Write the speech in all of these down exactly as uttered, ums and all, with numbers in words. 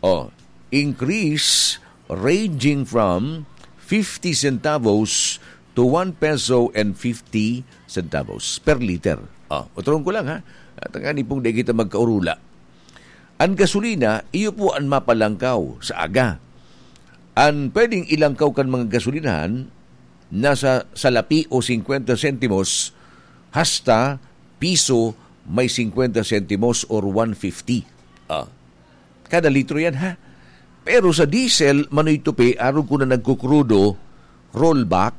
Oh, increase ranging from fifty centavos to one peso and fifty centavos per liter. Ah, utrohon ko lang, ha. At ang ani pong di kita magkaurula. Ang gasolina, iyo po ang mapalangkaw sa aga. Ang pwedeng ilangkaw kan mga gasolinahan, nasa salapi o singkwenta sentimos hasta piso may singkwenta sentimos or one fifty. Ah, kada litro yan, ha? Pero sa diesel, Manoy Tupi, arog ko na nagkukrudo, rollback,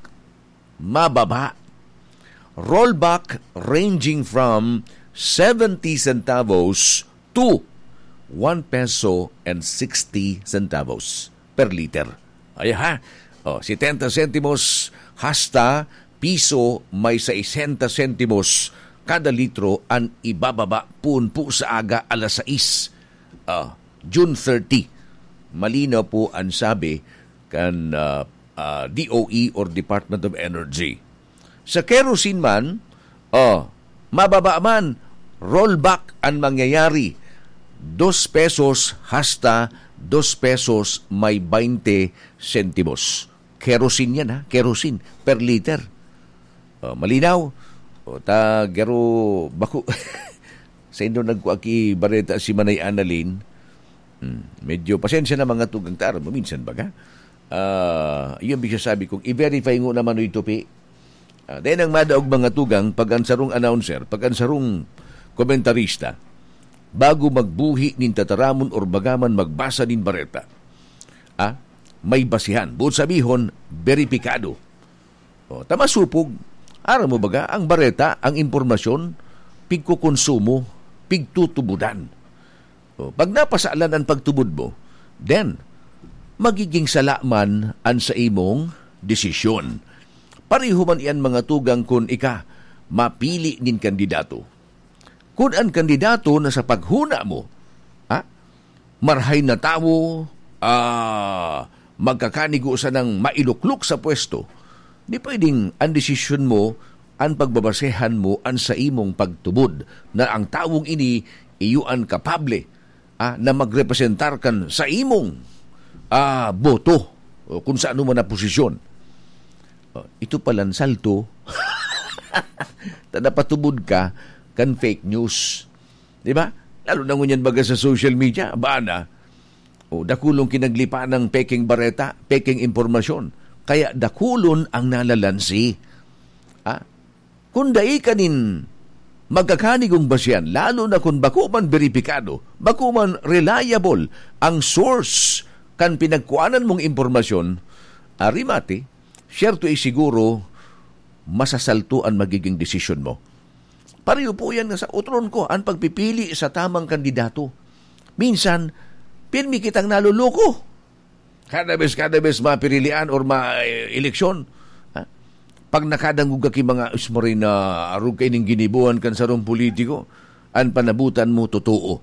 mababa. Rollback ranging from seventy centavos to one peso and sixty centavos per liter. Ay ha? O, setenta sentimos hasta piso may sesenta sentimos kada litro an ibababa poon po sa aga alas sais, ah, June thirty. Malinaw po ang sabi kan, ah, ah, D O E or Department of Energy. Sa kerosene man, oh, mababa man, rollback ang mangyayari. Dos pesos hasta dos pesos may baynte sentimos. Kerosene yan, ha? Kerosene per liter. Oh, malinaw? O, ta, garo, bako, sa indo nagkuaki bareta si Manay Annalyn, hmm, medyo, pasensya na mga tugang, ta, aram mo, minsan baga. Ah, yun, bisa sabi kong, i-verify ngo naman, Noy Tupi. Ah, dahil ang madaog mga tugang, pag ang sarong announcer, pag ang sarong komentarista, bago magbuhi nin tataramon or bagaman magbasa nin bareta, ah, may basihan. Buot sabihon, beripikado. O, ta masupog. Aram mo baga, ang bareta, ang impormasyon, pigkukonsumo, pigtutubudan. O, pag napasalan ang pagtubod mo, then, magiging sala man an sa imong desisyon. Pareho man iyan mga tugang kun ika mapili nin kandidato. Kun an kandidato na sa paghuna mo, ha, marhay na tawo, ah, magkakanigo sanang mailuklok sa pwesto, di pwedeng an desisyon mo, an pagbabasehan mo an sa imong pagtubod na ang tawong ini iyo an kapable, ah, na magrepresentar kan sa imong, ah, boto o kung sa ano man na posisyon. Oh, ito palan salto. Ta napatubod ka kan fake news. Di ba? Lalo na ngunyan baga sa social media, baan na? O, dakulong kinaglipa ng peking bareta, peking impormasyon. Kaya dakulon ang nalalansi. Ah, kun dai ka nin magkakanigong basihan, lalo na kun bako man beripikado, bako man reliable ang source kan pinagkuanan mong impormasyon, arimati, siyerto ay siguro, masasalto an magiging desisyon mo. Pareho po yan nga sa otron ko, an pagpipili sa tamang kandidato. Minsan, pirmi kitang naloloko. Kada bes, kada bes mapirilian or ma-, eh, eleksyon, ha? Pag nakadangog ka ki mga, "Us, maray na arog kaining giniboan kan sarong politiko," an panabutan mo, totoo.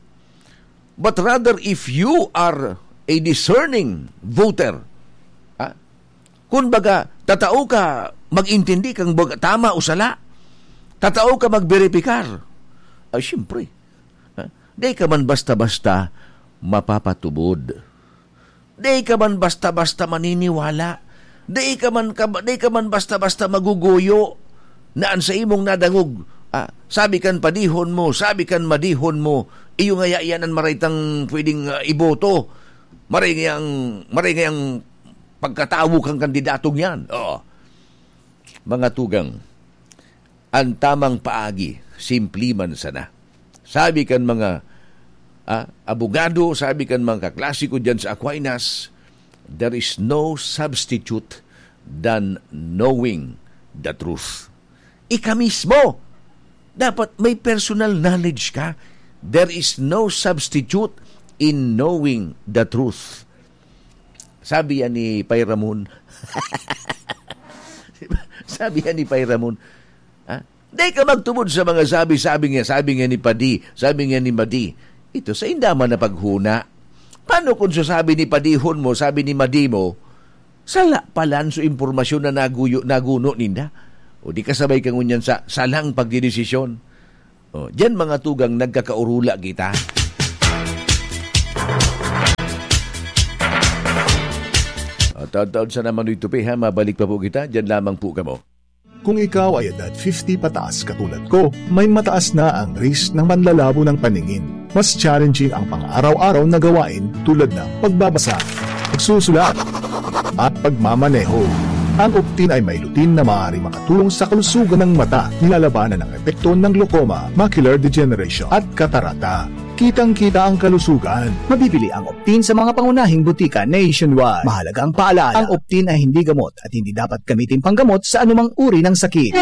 But rather, if you are a discerning voter, ha? Kun baga, tatao ka mag-intindi kang bag-, tama o sala. Tatao ka magberipikar. Ay, siyempre. Ha? Di ka man basta-basta mapapatubod. Di ka man basta-basta maniniwala. Di ka man ka-, di ka man basta-basta maguguyo na an sa imong nadangog, ah, sabi kan padihon mo, sabi kan madihon mo, iyo ngaya iyan an maray tang pwedeng, ah, iboto. Maray ngayang, maray ngayang pagkatawo kan kandidatong yan. Oo. Mga tugang, an tamang paagi, simple man sana. Sabi kan mga, ah, abogado, sabi kan mga kaklase ko diyan sa Aquinas, "There is no substitute than knowing the truth." Ika mismo, dapat may personal knowledge ka. There is no substitute in knowing the truth. Sabi yan ni Pay Ramon. Sabi yan ni Pay Ramon, ha? Di ka magtubod sa mga sabi-sabi nga, sabi nga ni Padi, sabi nga ni Madi. Ito, sa indaman na paghuna. Paano kung sasabi ni Padihon mo, sabi ni Madi mo, sala palan so impormasyon na naguyo, naguno ninda? O di kasabay ka ngunyan sa salang pagdidesisyon? O, diyan mga tugang nagkakaurula kita. Taod-taod sana manoy tupi, ha? Mabalik pa po kita. Diyan lamang po kamo. Kung ikaw ay edad fifty pataas katulad ko, may mataas na ang risk ng manlalabo ng paningin. Mas challenging ang pang-araw-araw na gawain tulad ng pagbabasa, pagsusulat, at pagmamaneho. Ang Optin ay may lutein na maaaring makatulong sa kalusugan ng mata, nilalabanan ang epekto ng glaucoma, macular degeneration, at katarata. Kitang-kita ang kalusugan. Mabibili ang Optin sa mga pangunahing butika nationwide. Mahalagang paalala, ang Optin ay hindi gamot at hindi dapat gamitin panggamot sa anumang uri ng sakit.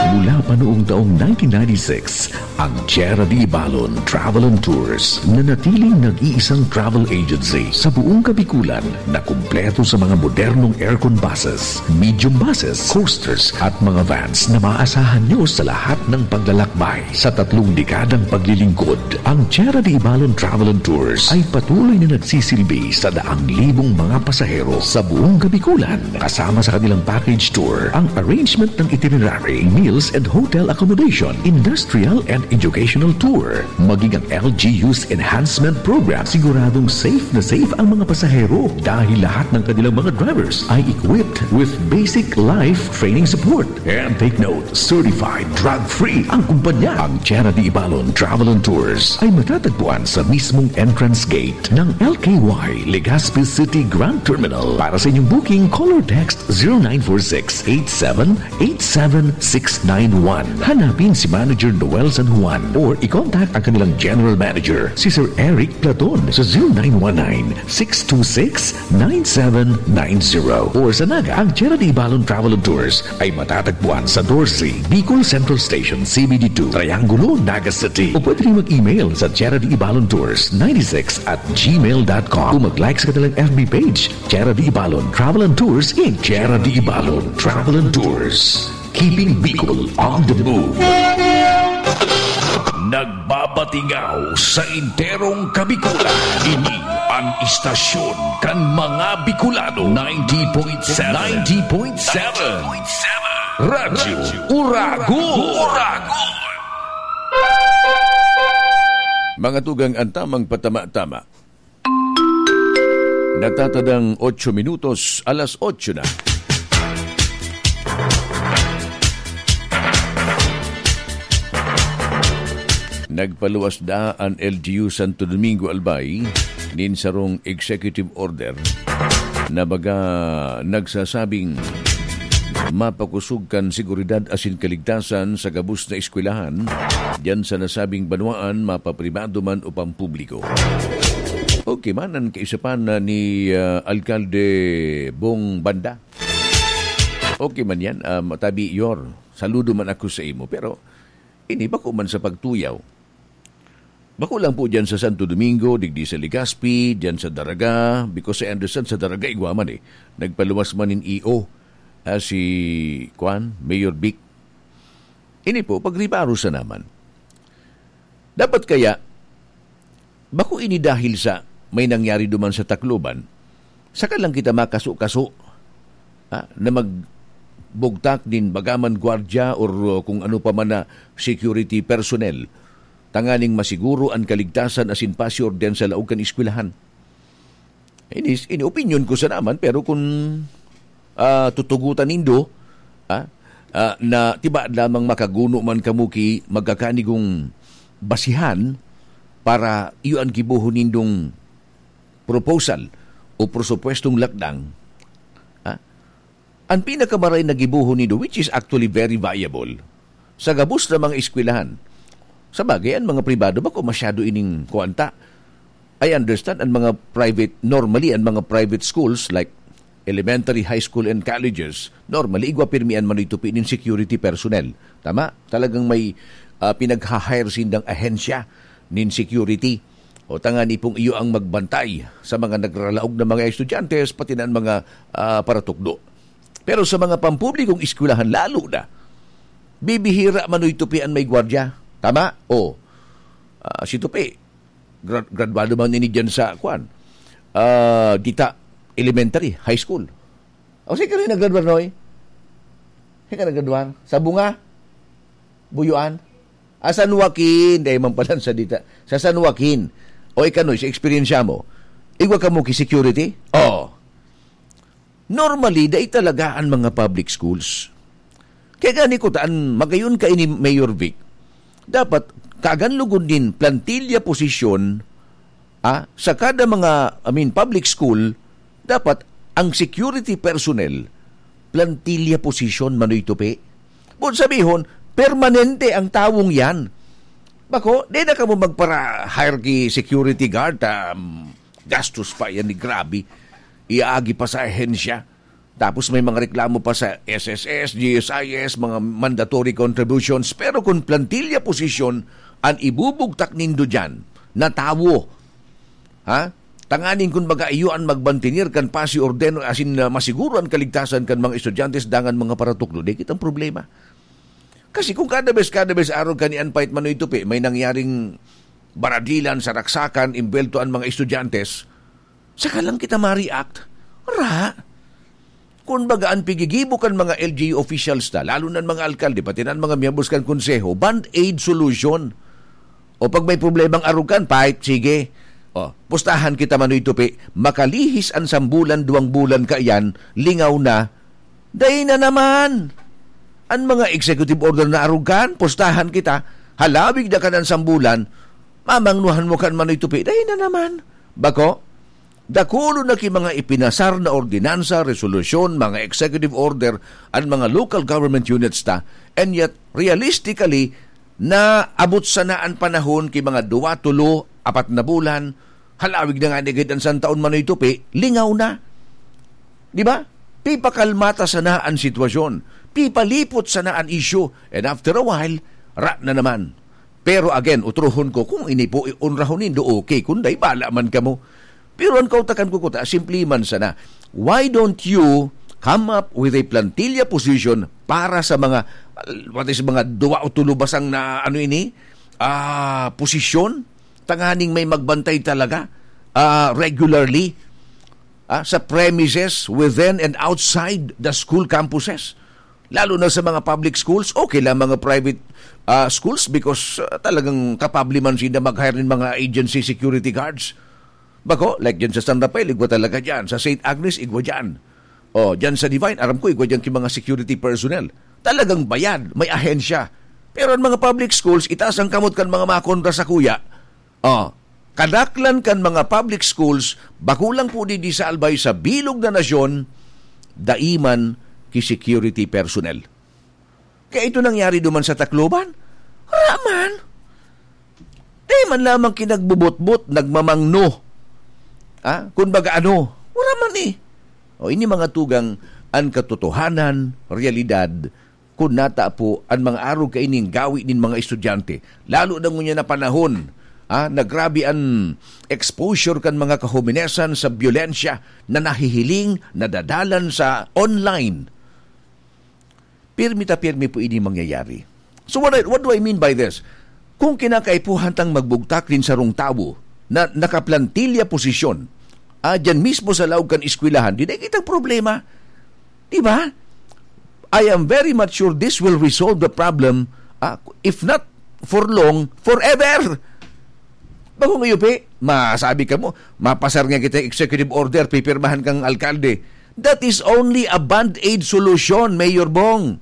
Mula pa noong taong nineteen ninety-six, ang Tierra de Ibalon Travel and Tours, nanatiling nag-iisang travel agency sa buong Kabikulan na kumpleto sa mga modernong aircon buses, medium buses, coasters at mga vans na maaasahan nyo sa lahat ng paglalakbay. Sa tatlong dekadang paglilingkod, ang Tierra de Ibalon Travel and Tours ay patuloy na nagsisilbi sa daang libong mga pasahero sa buong Kabikulan, kasama sa kanilang package tour, ang arrangement ng itinerary, meals and hotel accommodation, industrial and educational tour, maging ang L G U's Enhancement Program. Siguradong safe na safe ang mga pasahero dahil lahat ng kanilang mga drivers ay equipped with basic life training support. And take note, certified drug-free ang kumpanya. Ang Tierra de Ibalon Travel and Tours ay matatagpuan sa mismong entrance gate ng L K Y Legazpi City Grand Terminal. Para sa inyong booking, call or text zero nine four six eight seven eight seven six nine one. Hanapin si Manager Noel San Juan or i-contact ang kanilang General Manager, si Sir Eric Platon, sa zero nine one nine six two six nine seven nine zero. Or sa Naga, ang Tierra de Ibalon Travel and Tours ay matatagpuan sa doce, Bicol Central Station, C B D two, Triangulo, Naga City. O pwede rin mag-email sa Tierra de Ibalon Tours ninety-six at gmail dot com. O mag-like sa kanilang F B page, Tierra de Ibalon Travel and Tours in Tierra de Ibalon Travel and Tours. Keeping Bicol on the move. Nagbabatingaw sa enterong Kabikulan. Ini an istasyon kan mga Bicolano. Ninety point seven. Ninety point seven. Radyo Uragon. Uragon. Mga tugang, ang tamang patama-tama. Natatadang otso minutos, alas otso na. Nagpaluwas na an L G U Santo Domingo Albay nin sarong executive order na baga nagsasabing mapakosog kan seguridad asin kaligtasan sa gabos na eskwelahan diyan sa nasabing banwaan, mapapribado man o pampubliko. Okay man an kaisapan na ni, ah, Alkalde Bong Banda. Okay man yan, ah, Matabi Yor. Saludo man ako sa imo. Pero ini, bako man sa pagtuyaw. Bako lang po dyan sa Santo Domingo, digdi sa Legazpi, dyan sa Daraga, because I understand sa Daraga, igwa man eh. Nagpaluwas man nin E O, ah, si, kwan, Mayor Vic. Ini po, pagribaro sa naman. Dapat kaya, bako ini dahil sa may nangyari duman sa Tacloban, saka lang kita makaso-kaso, ah, na magbugtak nin bagaman gwardya or, uh, kung ano pa man na security personnel, tanganing masiguro an kaligtasan asin pasiorden sa laog kan eskwelahan. Ini, ini opinyon ko sa naman, pero kun, ah, tutugotan nindo, ah, ah, na tibaad lamang makaguno man kamo ki magkakanigong basihan para iyo an gibohon nindong proposal o presupuestong lakdang, ah, an pinakamaray na gibohon nindo, which is actually very viable, sa gabos na mga eskwelahan. Sa bagay, an mga pribado bako masyado ining kuwanta. I understand, an mga private, normally, an mga private schools like elementary, high school, and colleges, normally, igwa pirmi an manoy tupi nin security personnel. Tama? Talagang may, ah, pinagha-hire sindang ahensya nin security. O tangani pong iyo ang magbantay sa mga nagralaog na mga estudyante, pati na an mga, ah, paratukdo. Pero sa mga pampublikong eskwelahan, lalo na, bibihira manoy tupi an may gwardya. Tama? O, ah, si Tupi, gra-, graduado man ini dyan sa, kwan, ah, dita, elementary, high school. O, saan ka rin naggraduar, Noy? Saan ka naggraduar? Sa Bunga? Buyuan? Ah, San Joaquin. Dahil man pala sa dita. Sa San Joaquin. O, ikaw, Noy, sa eksperyensya mo, igwa ka mo ki security? Oo. Normally, dai talaga an mga public schools. Kaya gani ko ta, an magayon kaini, Mayor Vic, dapat kagan lugod nin plantilla posisyon, ah, sa kada mga, I mean, public school, dapat ang security personnel, plantilla posisyon, Manoy Tupi. Buot sabihon, permanente ang tawong yan. Bako, di na kamo magpara-hire ki security guard, um, gastos pa yan ni grabe. Iaagi pa sa ahensya. Tapos may mga reklamo pa sa S S S, G S I S, mga mandatory contributions. Pero kung plantilla posisyon an ibubugtak nindo dyan, na tawo, ha? Tanganing kun baga iyo an magbantinir kan pasi orden, asin, ah, masiguro an kaligtasan kan mga estudyante dangan mga paratukdo, di kitang problema. Kasi kung kada bes, kada bes arog kan ni an pait Manoy Tupi, may nangyaring baradilan sa raksakan, imbwelto an mga estudyante, saka lang kita ma-react. Ra! Kun baga, an pigigibo kan mga L G U officials ta, lalo na an mga alkalde, pati na an mga miyembros kan konseho, band-aid solution. O pag may problemang arog kan, pait, sige. O, pustahan kita, Manoy Tupi, makalihis an sambulan, duwang bulan kaiyan, lingaw na, dai na naman. An mga executive order na arog kan, pustahan kita, halawig na kan an sambulan, mamangnuhan mo kan, Manoy Tupi, dai na naman. Bako, dakulon na ki mga ipinasar na ordinansa, resolusyon, mga executive order, an mga local government units ta, and yet, realistically, naabot sana an panahon ki mga duwa, tulo, apat na bulan, halawig na ngani gid an santaon, Manoy Tupi, lingaw na. Di ba? Pipakalma ta sana an sitwasyon. Pipalipot sana an issue. And after a while, ra na naman. Pero again, utrohon ko, kung ini po onrahon nindo, okay. Kung dai, bala man kamo. Pero an kautakan ko kuta, simple man sana. Why don't you come up with a plantilla position para sa mga, what is, mga duwa o tulo basang na, ano ini, ah, posisyon? Tanganing may magbantay talaga, ah, regularly, ah, sa premises within and outside the school campuses. Lalo na sa mga public schools, okay lang mga private, ah, schools because, ah, talagang kapable man sila mag-hire ng mga agency security guards. Bako, like dyan sa San Rafael, igwa talaga dyan. Sa Saint Agnes, igwa dyan. O, dyan sa Divine, aram ko, igwa dyan ki mga security personnel. Talagang bayad, may ahensya. Pero ang mga public schools, itaas ang kamot kan mga makontra sa kuya. O, kadaklan kan mga public schools, bako lang po digdi sa Albay, sa bilog na nasyon, dai man ki security personnel. Kaya ito nangyari duman sa Tacloban. Wala man. Di man lamang kinagbubutbut, nagmamangno. Ha? Kun baga ano, wala man eh. O, ini mga tugang an katotohanan, realidad, kun nata po an mga arog kaining gawi nin mga estudyante. Lalo na ngunyan na panahon, ha, na grabe an exposure kan mga kahominesan sa byolensya na nahihiling, nadadalan sa online. Pirmi ta pirmi po ini mangyayari. So what, I- what do I mean by this? Kung kinakaipuhan tang magbugtak nin sarong tawo na nakaplantilya posisyon, ah, dyan mismo sa laog kan eskwelahan, di na kitang problema. Di ba? I am very much sure this will resolve the problem, ah, if not for long, forever. Bakong iyo, Pe, masabi ka mo, mapasar nga kita executive order, pipirmahan kang alkalde. That is only a band-aid solution, Mayor Bong.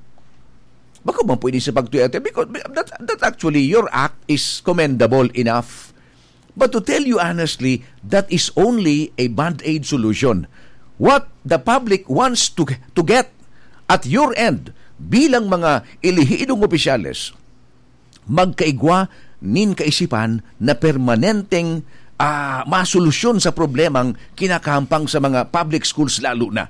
Bako man pwede sa pagtuyate, because that, that actually, your act is commendable enough. But to tell you honestly, that is only a band-aid solution. What the public wants to, to get at your end bilang mga elehidong opisyales, magkaigwa nin kaisipan na permanenteng, ah, masolusyon sa problemang kinakahampang sa mga public schools lalo na.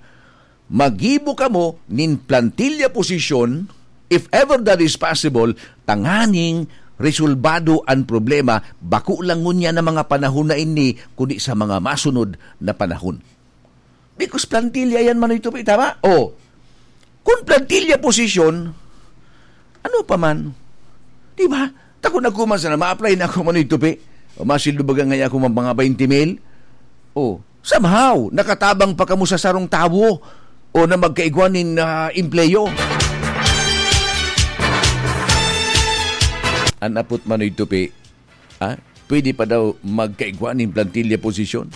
Maggibo kamo nin plantilya posisyon, if ever that is possible, tanganing resolbado an problema, bako lang ngunyan na mga panahon na ini, kundi sa mga masunod na panahon. Because plantilya yan, Manoy Tupi, tama? O, kung plantilya posisyon, ano pa man? Di ba? Tako na ko man sana, ma-apply na ako, Manoy Tupi. O, masildo baga ngayon ako mga, mga twenty mil. O, somehow, nakatabang pa kamo sa sarong tawo o na magkaigwa nin, ah, empleyo. An apot, Manoy Tupi, ha? Pwede pa daw magkaigwa nin plantilya posisyon?